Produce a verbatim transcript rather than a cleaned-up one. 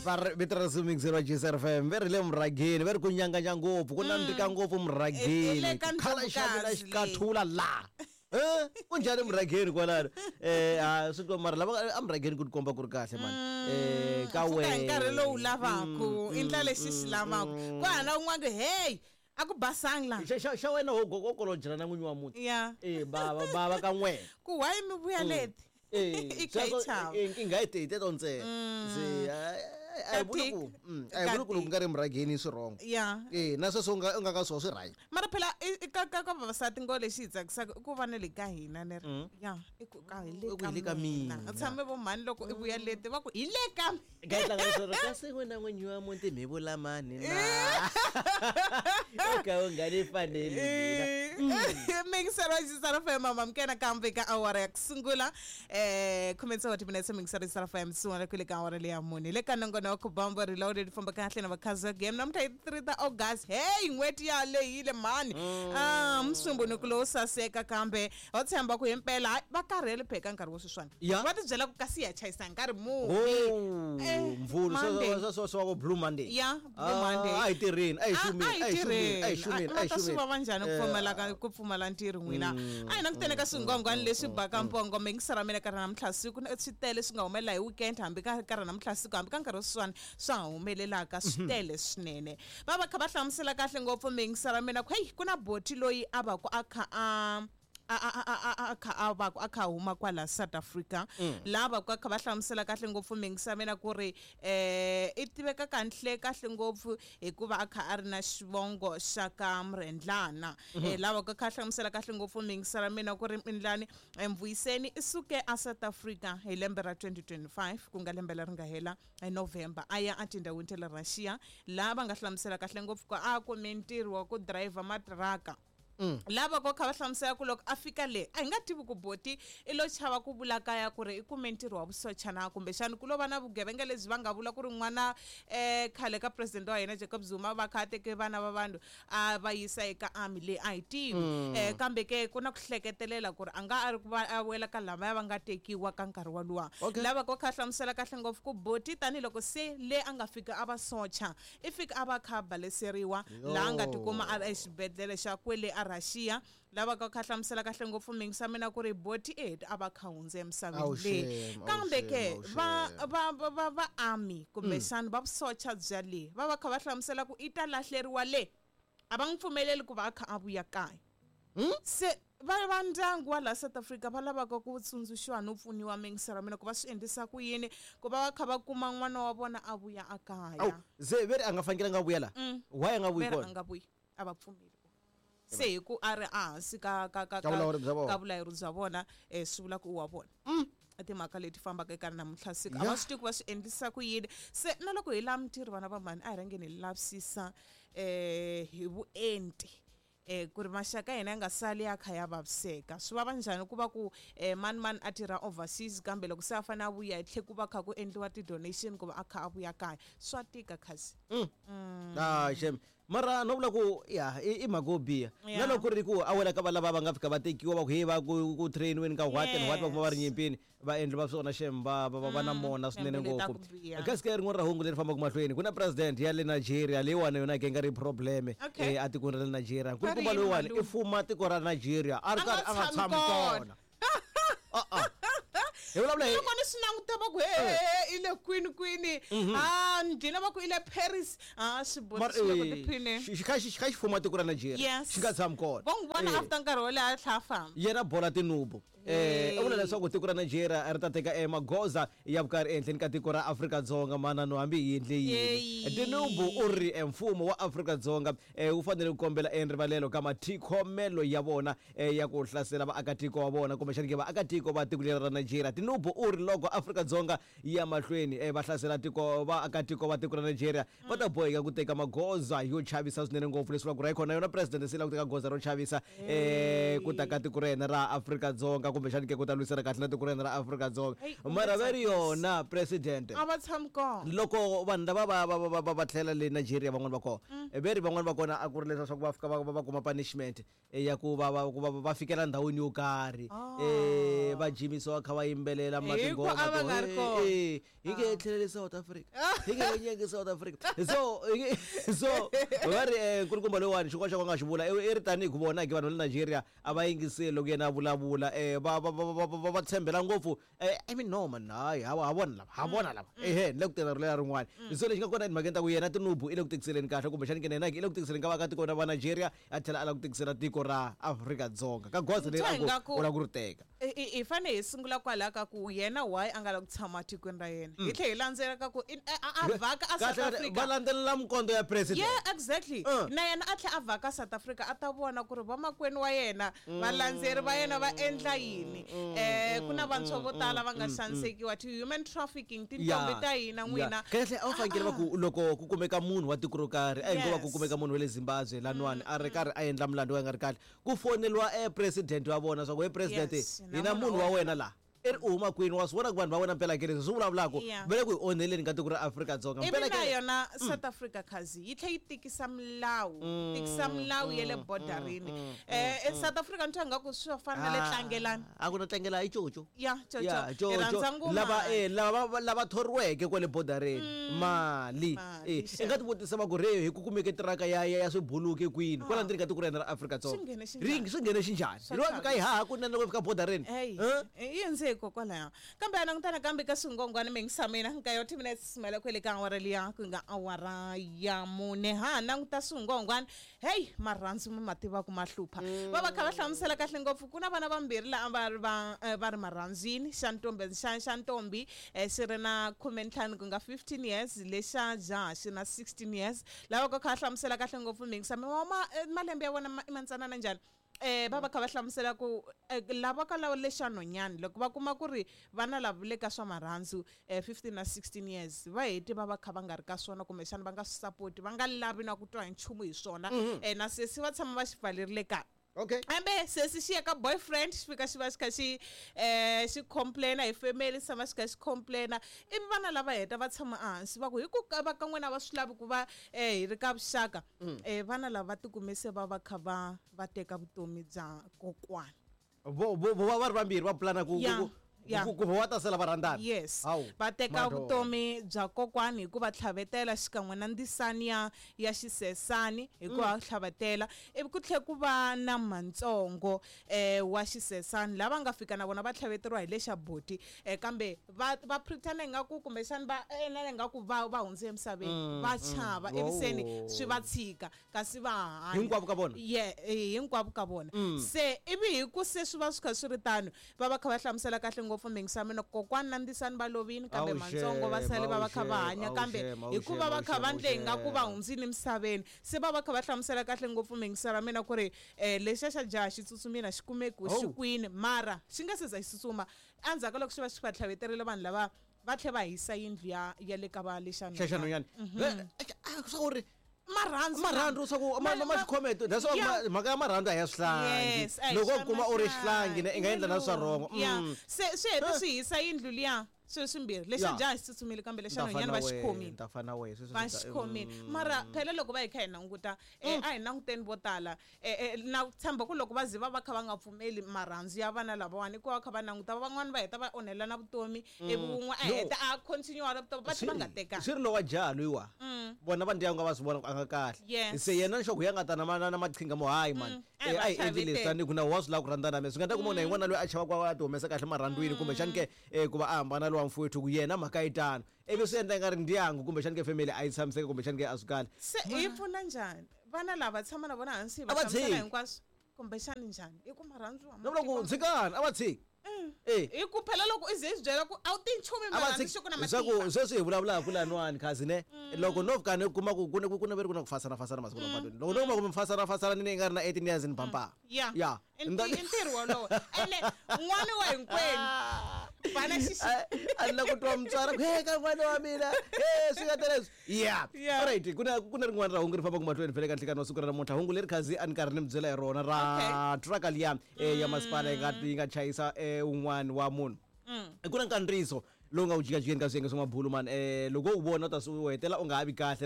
Va ri vito ra Sumixer wa G S R F M ve ri le murhageni ve ri ku nyanganya ngopfu ku nandzika ngopfu I- i le murhageni ka khala xa mina Ndlovukazi xikathula la. Eh kunjhani murhageni kwalano? Eh a swi ko mara lava a murhageni ku tikomba ku ri kahle mani. Eh ka Pfuka hi wena. nkarhi lowu lavaku i ndla lexi xi lavaku ku hana un'wana ku hey a ku basangi la. Xa xa xa wena ho go kolojela na n'winyi wa muti. Ya. Eh bava bava ka n'wena. Ku why mi vuya leti? Eh I kha yi chava. eh nkingha yi te teto ntsena. Se a hi vuli ku mm, a hi vuli ku loko ku nga ri murhageni swi wrong. Ya. Eh na sweswo u nga u nga ka swona swi right. Mara phela i- i ka ka ka vavasati ngo lexi hi tsakisaka i ku va na le ka hina ne ri ya i ku ka hi le I ku ka hi le ka mina mina. U tshame vo mhani loko i vuya leti va ku hi le ka mina. Ka yi tlanga leswaku kasi wena n'winyi wa muti mi vula mani na. U ka u nga ni faneli mina. Mingiselo wa G S R F M mama mkena kambe ka awara ya ku sungula eh khume tsevu wa timinetse mingiselo wa G S R F M sungula ku le ka awara leya mune le ka nongonoko Bambo Reloaded famba kahle na vakhazi game namuntlha hi three ta August. Hey n'hweti ya lehile mhani. Ah musumbunuku lowu saseka kambe ho tshemba ku himpela hayi, va karhele pheka nkarhi wo sweswiwani. Ya. Va tibyela ku kasi hi ya chayisa nkarhi muni. Oh, Eh, mvulu Monday. swo swo swo Blue Monday. Ya, Blue Monday. Ah, a hi tirheni, a hi xumeni, a hi a hi xumeni, a hi xumeni, a ma hi ta swi xumeni. vava njhani ku Eh, pfumala ka ku pfumala ntirho n'wina? A hi languteni ka swingwangwani leswi baka mpongo mingisera mina ka namuntlha siku na swi tele swi nga humelela hi weekend hambi ka ka namuntlha siku hambi ka nkarhi sweswiwani swa ha humelelaka swi tele swinene. Va va kha va hlamusela kahle ngopfu mingisera mina ku hey ku na boti loyi a va ku a kha a a a a a a kha a va ku a kha huma kwala South Africa laha va ku a kha va hlamusela kahle ngopfu mingisa mina ku ri eh i tiveka kahle kahle ngopfu hikuva a kha a ri na xivongo xa ka Murendlana. Eh laha va ku a kha hlamusela kahle ngopfu mingisa mina ku ri Mindlani Mvuyiseni i suke a South Africa hi lembe ra twenty twenty-five ku nga lembe leri nga hela hi November a ya etindhawini ta le Russia laha va nga hlamusela kahle ngopfu ku a kume ntirho wa ku driver matiraka. Lava ko kha va hlamusela ku loko a fika le a hi nga tivi ku boti i lo chava ku vula kaya ku ri i kume ntirho wa vusocha na kumbexani ku lo va na vugevenga lebyi va nga vula ku ri n'wana eh khale ka president wa hina Jacob Zuma va kha a teke vana va vanhu a va yisa eka army leyi a hi tivi. Eh kambe ke ku na ku hleketelela ku ri a nga a ri ku va a wela ka lavaya va nga tekiwa ka nkarhi waluwa. Okay. Lava ko kha hlamusela kahle ngopfu ku boti tanihiloko se le a nga fika a va socha i fika a va kha a baleseriwa laha a nga tikuma a ri exibedhlele xa kwele a Russia. Lava ka kha hlamusela kahle ngopfu mingisa mina ku ri boti e a va kha hundze emisaveni Awu leyi. shame, awu Kambe ke shame, awu va shame. va va va va army kumbexana va vusocha bya le va va kha va hlamusela ku i ta lahleriwa le a va n'wi pfumeleli ku va a kha a vuya kaya. Se va va ndyangu wa la South Africa va lavaka ku tsundzuxiwa no pfuniwa mingisera mina ku va swi endlisa ku yini ku va va kha va kuma n'wana wa vona a vuya a kaya. Awu, se ve ri a nga fanekelanga a vuya la? Why a nga vuyi Ve ri a kona? nga vuyi, a va pfumeli. Se hi ku a ri ehansi ka ka ka Ka vulawuri bya vona. ka vulawuri bya vona eh swi vula ku u wa vona. I timhaka leti fambaka eka namuntlha siku a va Ya. swi tivi ku va swi endlisa ku yini. Se na loko hi lava mintirho vana va mhani a hi rhangeni hi lavisisa eh hi vuenti eh ku ri maxaka ya hina ya nga sali ya kha ya vaviseka. Swi vava njhani ku va ku eh mani mani a tirha overseas kambe loko se a fanele a vuya hi tlhe ku va kha ku endliwa ti-donation ku va a kha a vuya kaya swa tika khasi. Ah shame. Mara no vula ku ya i i mhaka yo biha. Ya. Na loko ku ri ku a wela ka va lava va nga fika va tekiwa va ku hey va ku ku train-weni ka what and what va kuma va ri Yes. nyimpini va endli va swona shame va va va va na mona swinene Timbilu ta ngopfu. ku biha. Kasi ka rin'wana ra hungu leri fambaka mahlweni ku na president ya le Nigeria leyiwani yona ke nga ri problem Okay. eh a tikweni ra le Nigeria. Va ri Nkulukumba yini loyiwani i malume? fuma tiko ra Nigeria a ri A nga karhi a nga tshami tshami kona. kona. Ah ah. Hi vulavula hi Loko ni swi languta va ku he i le kwini kwini ah ndlina va ku i le Paris ah swi Mara, boti swi le ku eh, tiphineni. xi xi kha xi kha xi fuma tiko ra Nigeria Yes. xi nga tshami kona. Va n'wi vona Eh. after nkarhi wo leha a tlhela a famba. Yena Bola Tinubu eh u vula leswaku tiko ra Nigeria ri ta teka eh, magoza ya vukarhi ehenhleni ka tiko ra Afrika-Dzonga manano hambi hi endle yini. Yeyi. Tinubu u ri eh, mfumo wa Afrika-Dzonga eh, wu fanele ku kombela erivalelo ka mathikhomelo ya vona eh, ya ku hlasela vaakatiko wa vona kumbexani ke vaakatiko va tiko leri ra Nigeria. Tinubu u ri loko Afrika-Dzonga yi ya mahlweni eh, va hlasela tiko vaakatiko va tiko ra Nigeria va ta boheka ku teka magoza yo chavisa swinene ngopfu leswi vulaka ku ri hayikhona yona president se lava ku teka goza ro chavisa eh, ku ta ka tiko ra yena ra Afrika-Dzonga. kumbexani ke ku ta lwisana kahle na tiko ra hina ra Afrika-Dzonga. Hey, ku Mara nga va ri tsakisi. yona president A va tshami kona. Loko vanhu lava va va va va va tlhela le Nigeria, van'wani va kona ve ri van'wani va kona a ku ri leswaku va fika va va va kuma punishment eh, ya ku va va ku va va fikela ndhawini yo karhi, eh va jimisiwa kha va yimbelela Hi ku matingoma a va to, nga ri eh, kona. eh, hi nge tlheleli South Africa, hi nge nyeki South Africa. So hi nge- so va ri eh, nkulukumba loyiwani xin'wana xa ku nga xi vula i i ri tanihi ku vona ke vanhu va le Nigeria a va yingiseli loko yena a vulavula, eh va va va va va- va tshembela ngopfu. eh I mean, no man, hayi, ha ha vona lava, ha vona lava, ehe ni le ku tena ri rin'wana. So lexi nga kona emhakeni ta ku yena Tinubu i le ku tikiseleni kahle, kumbexani ke na yena i le ku tikiseleni ka vaakatiko va Nigeria, a tlhela a lava ku tikisela tiko ra Afrika-Dzonga ka goza leri Twa a ku ingaku- u lava ku ri teka. I- i i fane hi sungula kwalaho ka ku yena why a nga lavi ku tshama tikweni ra yena, hi tlhela hi landzela ka ku i- a a- a vhaka a Kahle South kahle, va Africa. landzelela minkondzo ya president. Yeah, exactly. Uh. Na yena a tlhela a vhaka South Africa a ta vona ku ri vamakwenu wa yena, valandzeri va yena va endla yini. um ku na vantshwa vo tala va nga xanisekiwa ti-human trafficking, tintombi ta hina n'wina. Kahle, a wu fanekele va ku loko ku kumeka munhu wa tiko ro karhi, a hi ngo va ku Yes. kumeka munhu wa le Zimbabwe laniwani a ri karhi a endla mulandu wa nga ri kahle, ku foneliwa e president wa vona swa ku, "He president, Yes, hi na munhu wa wena laha i ri u huma kwini, wa swi vona ku vanhu va wena mpela ke leswi swi vulavulaka Yeah. va le ku hi onheleni ka tiko ra Afrika-Dzonga Ivi mpela na ke." yona South Africa khazi yi tlhe yi tikisa milawu, tikisa milawu ya le bodarini. um South Africa ni twa ingaku swi fana na le tlangelani. A ku na tlangela i coco. Ya, Ya, coco hi rhandza coco ngoma. lava eh lava va- lava thoriweke kwale bodareni mali. Mali, eh i xa. nga ti vutisa va ku re hi ku kumeke tiraka ya ya ya swibuluki kwini kwala ndzeni ka tiko ra hina ra Afrika-Dzonga? Swi nghene xinjhani? Ri swi nghene xinjhani? Swa Ri va fika yi haha kunene loko fika bodareni. Eyi, Eh? yi hundze hikokwalaho. Kambe a langutana kambe ka swingongwana mingisamina nkaye wa ti-minutes mela kwele ka awara liya ku nga awara ya mune, ha languta swingongwana. Heyi, marhandzu mi ma tiva ku ma hlupha. Va va kha va hlamusela kahle ngopfu ku na vana vambirhi laha va ri va eh, va ri marhandzwini, xa ntombi xa xa ntombi eh, xi ri na khumentlhanu ku nga fifteen years, lexa jaha xi na sixteen years. Lava ka kha va hlamusela kahle ngopfu mingisami wa ma eh, malembe ya vona ma- i mantsanana njhani. eh va va kha va hlamusela ku eh, lava ka lava lexa nhonyani loko va kuma ku ri vana lava le ka swa marhandzu, eh fifteen na sixteen years, va heti va va kha va nga ri ka swona, kumbexana va nga swi sapoti, va nga lavi na ku twa hi nchumu hi swona. eh na sesi va tshama va xi pfalerile kaya. Okay. Kambe sesi xi ya ka boyfriend, xi fika xi va xi kha xi um xi complaina hi family, xi tshama xi kha xi complaina. Ivi vana lava heta va tshama ehansi va ku hi ku ka va ka n'wina va swi lavi ku va um hi ri ka vuxaka. um vana lava va tikume se va va kha va va teka vutomi bya kokwana. vo vo vo va va ri vambirhi va pulana ku Yeah, ku- yeah. ku ku va ta sala va rhandzana. Yes. Hawu, Va teka madoda. vutomi bya kokwani hi ku va tlhavetela xikan'we na ndzisani ya ya xisesani hi ku va tlhavetela. Ivi ku tlhe ku va na mantsongo um wa xisesani lava nga fika na vona va tlhaveteriwa hi lexa boti, um kambe va va pretend ingaku kumbexani va endla ingaku va va hundze emisaveni, va chava, ivi seni Oh. swi va tshika kasi va hanya. Hinkwavo ka vona? Ye eh, hinkwavo ka vona. Se ivi hi ku se swi va swi kha swi ri tano, va va kha va hlamusela kahle ngopfu mingisamino kokwana na ndzisani va lovini, kambe Awu mantsongo va xem, sale va va awu kha va xem, hanya. awu Kambe xem, awu hikuva xem, va awu kha va xem, ndle ingaku va awu xem. hundzile emisaveni, se va va kha va hlamusela kahle ngopfu mingisa ra mina ku ri um lexiya xa jaha xi tsutsumile a xi kumeki ku xi Oh. kwini, mara xi nga se za xi tsutsuma, endzhaku ka loko xi va xi va tlhaveterile vanhu lava va tlhe va hisa yindlu ya ya le ka va lexa Xa xa nhonyani. Mhm. Swa ku ri marhandzu marhandzu swa ku ma ma- ma xikhometo, that's why Yeah. ma- mhaka ya marhandzu a hi ya swihlangi. Yes, a hi Loko swa u kuma u ri xihlangi ne i nga endla na swa rhongo. Yeah. Mm. Se swi hete swi hisa yindlu liya swilo swimbirhi, lexa Yeah. jaha xi tsutsumile kambe lexa Ni ta nhonyani fana va xi wehe, khomile. ni ta fana wehe, sweswo Va swi ta- xi khomile. Mm. Mara phela loko va hi kha hi languta, eh, a hi languteni vo tala, eh, eh, na tshemba ku loko va ze va va kha va nga pfumeli marhandzu ya vana lavawani, i ku va kha va languta van'wani va heta va onhela na vutomi, ivi wun'we a No. heta a continue na vutomi va tlhe va nga tekani. Swi ri lowa jaha loyiwa, vona va ndyangu a va swi vona ku a nga kahle. Yes. Se yena nxoko ya nga ta na ma- na na maqhinga mo hayi mani, A Eh, hi va a hi endli leswi tlhavetela. tanihi ku na wa swi lava ku rhandzana na mina, swi nga ta kuma na hi n'wana loyi a chavaka a ti humesa kahle marhandzwini, kumbexani ke eh, ku va a hambana lowa mfowethu ku yena mhaka yi tano, ivi swi endla i nga ri ndyangu kumbexani ke family a yi tshamiseki, kumbexani ke a swi kahle. Se hi pfuna njhani vana lava tshama na vona hansi hi A va va hlamusela tshiki. hinkwaswo kumbexani njhani i ku marhandzu a ma Na vula ku tekiwa- tshikani, a va tshiki. Eh. Hi ku phela loko i ze i swi byela ku a wu ti nchumu A va marhandzu tshiki xi ku na leswaku matimba. sweswi hi vulavulaka laniwani khazi ne, loko no fika ni kuma ku ku na ku na veri ku na ku fasana fasana masiku lawa patwini, loko no kuma ku mi fasana fasana ni nga ri na eighteen years ni bampa. Ya. Ya. I nti- i ntirho wolowo ene n'wana wa hinkwenu. Bana xixi A ni la ku twa mutswari ku he ka n'wana wa mina e swi nga ta leswi ya. Yeah. Alright, ku na ku na rin'wana ra hungu ri fambaka mahlweni fele ka nhlikani wa siku ra namuntlha, hungu leri khazi a ni karhi ni mi byela hi rona ra truck liya eh, ya masipala yi nga yi nga chayisa eh, un'wana wa munhu. Ku na nkandziyiso lowu nga ku jikajikeni ka swiyenge swa mabulu mani, um loko u wu vona u ta swi u hetela u nga ha vi kahle.